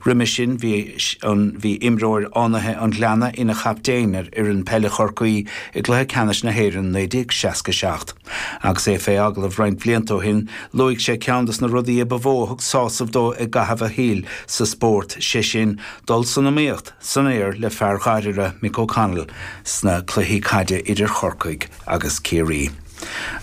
Roimhe sin bhí an bhí imreoir Fhánaithe an Ghleanna ina chaptaen ar fhoireann peile Chorcaí i gCluiche Ceannais na hÉireann 1967. Agus é fé agallamh roinnt blianta ó shin, luaigh sé ceann de na rudaí a ba mhó a thug sásamh dó i gcaitheamh a shaoil sa spórt, sé sin, dul san iomaíocht san aer le fear Ghairire, Mick O'Connell, sna cluichí caide idir Chorcaigh agus Ciarraí.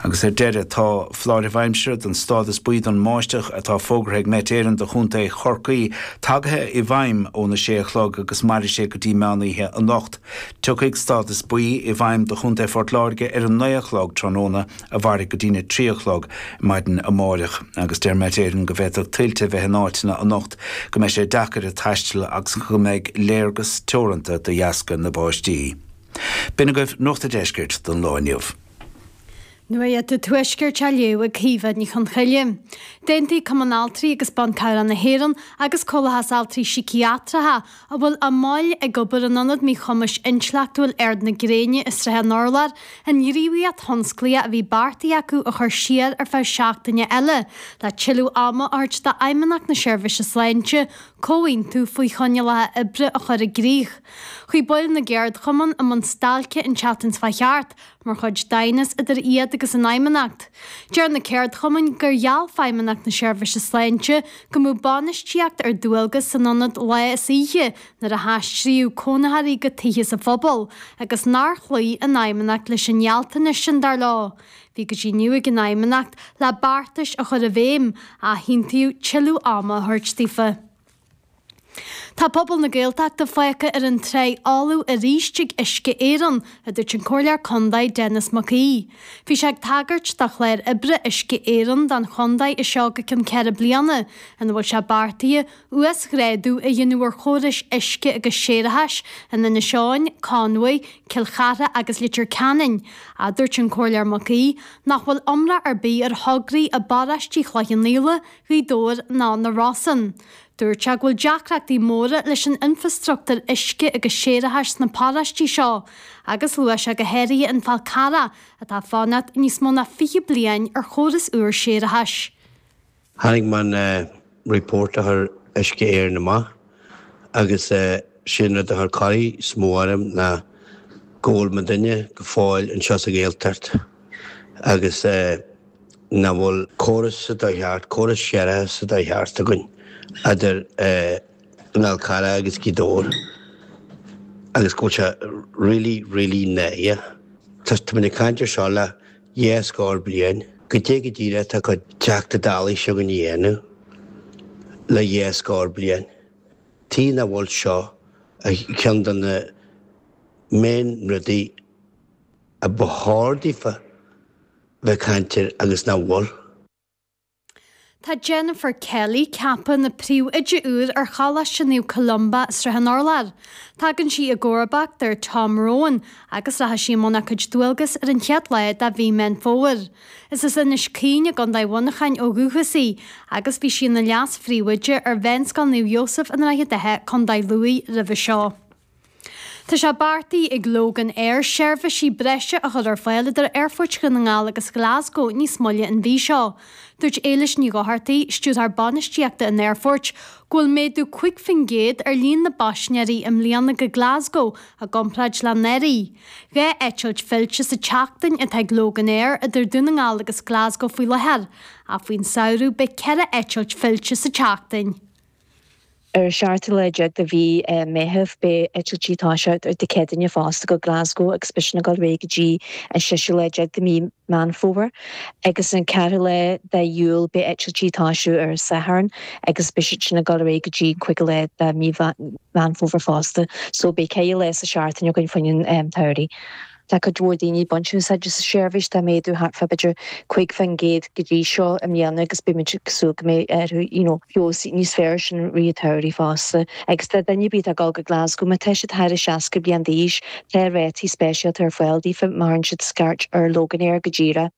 Agus ar deireadh, tá foláireamh aimsire den stádas buí don mbáisteach atá fógartha ag Met Éireann do chontae Chorcaí tagaithe i bhfeidhm óna sé a chlog agus mairfidh sé go dtí meán oíche anocht. Tiocfaidh stádas buí i bhfeidhm do chontae Phort Láirge ar a 9 a chlog tráthnóna a mhairfidh go dtína 3 a chlog maidin amáireach. Agus deir Met Éireann go bhféadfadh tuilte a bheith in áiteanna anocht, go mbeidh sé deacair taisteal agus go mbeidh léargas teoranta de dheasca na báistí. B'in agaibh Nuacht a' Deiscirt don lá inniu. Nuacht an Tuaiscirt á léamh ag Caoimhe Ní Chonchoille. D'aontaigh Cumann Altraí agus Ban Cabhrach na hÉireann agus Comhlachas Altraí Síciatracha a bhfuil a mbaill ag obair in Ionad Míchumais Intleachtúil Ard na Gréine i Srath an Urláir an ghníomhaíocht thionsclaíoch a bhí beartaithe acu a chur siar ar feadh seachtaine eile le tuilleadh ama a thabhairt d'Fheidhmeannacht na Seirbhíse Sláinte comhaontú faoi choinníollacha oibre a chur i gcrích. Chuaigh baill na gceardchumann i mbun stailce an tseachtain seo chuaigh thart mar chuid d'aighneas idir iad agus an Fheidhmeannacht. Deir na ceardchumainn gur gheall Feidhmeannacht na Seirbhíse Sláinte go mbeadh bainistíocht ar dualgas san ionad lá is oíche nuair a haistríodh cónaitheoirí go tithe sa phobal agus nár chloígh an Fheidhmeannacht leis an ngealltanas sin, dar leo. Bhí go dtí inniu ag an Fheidhmeannacht le beartais a chur i bhfeidhm, ach aontaíodh tuilleadh ama a thabhairt daofa. Tá pobal na Gaeltachta fágtha ar an tráigh fholamh arís ag Uisce Éireann, a dúirt an Comhairleoir Condae Denis Mac Aoidh. Bhí sé ag tagairt do chlár oibre Uisce Éireann don chondae as seo go ceann 4 bliana, ina bhfuil sé beartaithe uasghrádú a dhéanamh ar chórais uisce agus séarachais in Inis Eoghain, Conmhaigh, Cill Chartha agus Leitir Ceanainn. Ach dúirt an Comhairleoir Mac Aoidh nach bhfuil iomrá ar bith ar thograí i bparóistí Chloich Cheann Fhaola, Ghaoth Dobhair ná na Rosann. Dúirt sé go bhfuil deacrachtaí móra leis an infreastruchtúr uisce agus séarachais sna paróistí seo agus luaigh sé go háirithe an Fál Carrach atá ag fanacht níos mó ná 20 bliain ar chóras úr séarachais. Chonaic mé an report a chuir Uisce Éireann amach agus sé an rud a chuir corraí is mó orm ná go bhfuil muidinne go fóill anseo sa Ghaeltacht agus nach bhfuil córas sa dóigh cheart, córas séarachais sa dóigh cheart againn idir an Fhál Carrach agus Gaoth Dobhair agus go bhfuil sé really, really náireach. Tá muid ag caint ar seo le dhá scór bliain. Goidé go díreach atá cuid Teachta Dálaí s'againn a dhéanamh le dhá scór bliain. Tuige nach bhfuil seo ar cheann de na main rudaí a ba chóir daofa bheith ag caint air agus nach bhfuil. Tá Jennifer Kelly ceaptha ina príomhoide úr ar Choláiste Naomh Columba, Srath an Urláir. Tagann sí i gcomharbacht ar Tom Rowan agus rachaidh sí i mbun a cuid dualgas ar an chéad lá de mhí Meán Fómhair. Is as Inis Caoin i gContae Mhuineacháin ó dhúchas í agus bhí sí ina leas-phríomhoide ar Mheánscoil Naomh Iósaf i nDroichead Átha, Contae Lú roimhe seo. Tá sé beartaithe ag Loganair seirbhísí breise a chur ar fáil idir aerfoirt Dhún na nGall agus Glasgow níos moille an mhí seo. Dúirt Éilis Ní Dhochartaigh, Stiúrthóir Bainistíochta an aerfoirt, go bhfuil méadú 5% ar líon na bpaisinéirí i mbliana go Glasgow i gcomparáid le anuraidh. 2 eitilt fillte sa tseachtain atá ag Loganair idir Dún na nGall agus Glasgow faoi láthair, ach faoin samhradh beidh 4 eitilt fillte sa tseachtain. Ar an seachtú lá déag de mhí Meitheamh beidh eitiltí ag toiseacht ar Dé Céadaoine fosta go Glasgow agus beidh sin ag dul ar aghaidh go dtí an seisiú lá déag de mhí Meán Fómhair. Agus an ceathrú lá de Iúil beidh eitiltí ag toisiú ar an Satharn agus beidh siad sin ag dul ar aghaidh go dtí an cúigiú lá de mhí Meán Fómhair fosta. So beidh ceithre lá sa seachtain againn fá choinne an tsamhraidh. Tá cuid mhór daoine ag baint úsáid as an seirbhís, tá méadú thart fá b'fhéidir 5% go dtí seo i mbliana agus beidh muid ag súil go mbeidh orthu you know feabhas níos fearr sin i rith an tsamhraidh fosta. Agus do dhuine ar bith atá ag dul go Glasgow, má tá siad thar 60 bliain d'aois, tá rátaí speisialta ar fáil daofa má chuireann siad scairt ar Loganair go díreach.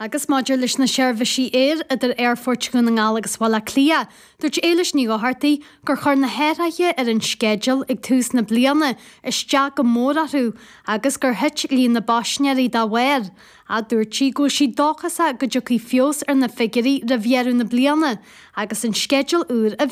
Agus maidir leis na seirbhísí aeir idir aerfoirt Dhún na nGall agus Bhaile Átha Cliath, dúirt Éilis Ní Dhochartaigh gur chuir na hathruithe ar an sceideal ag tús na bliana isteach go mór orthu agus gur thit líon na bpaisinéirí dá bharr. Ach dúirt sí go bhfuil sí dóchasach go dtiocfaidh feabhas ar na figiúirí roimh dheireadh na bliana agus an sceideal úr i bhfeidhm.